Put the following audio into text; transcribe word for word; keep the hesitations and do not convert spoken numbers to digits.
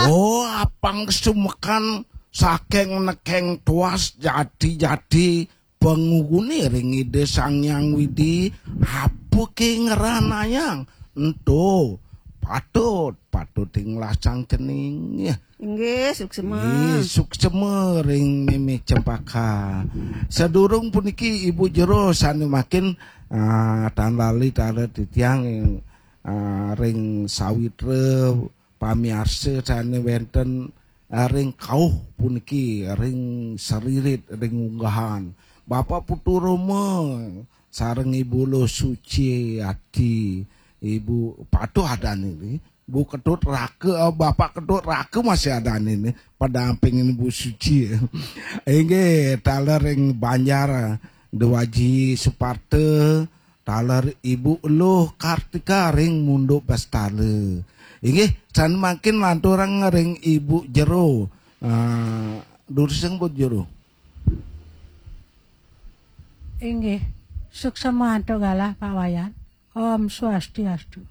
Oh, apang sumekan saking nekeng tuas jati-jati pangugune ring Ida Sang Hyang Widi, apa ke ngranayang? Ento patut, patut ing lasang cening. Ya. Inggih, suksema. Nggih, suksema ring Mimi Cempaka. Sadurung puniki Ibu Jero sane makin, ah, tan lali taler titiang, ah, ring sawitra pamiarsa sane wenten, ah, ring kauh puniki, ring saririt, ring unggahan. Bapak Putu Roma sareng Ibu Luh Suci Ati, Ibu Patuh adane niki. Bu Ketut Raka, eh, Bapak Ketut Raka masih adane niki, padampingin Bu Suci. Inggih, taler ring Banjar, Dewaji Suparta, taler Ibu Luh Kartika ring Munduk Bastala. Inggih, sane mangkin lanturang ring Ibu Jero. Ah, durusang Bu Jero. Inggih, suksema antuk galah Pak Wayan. Om Swastiastu.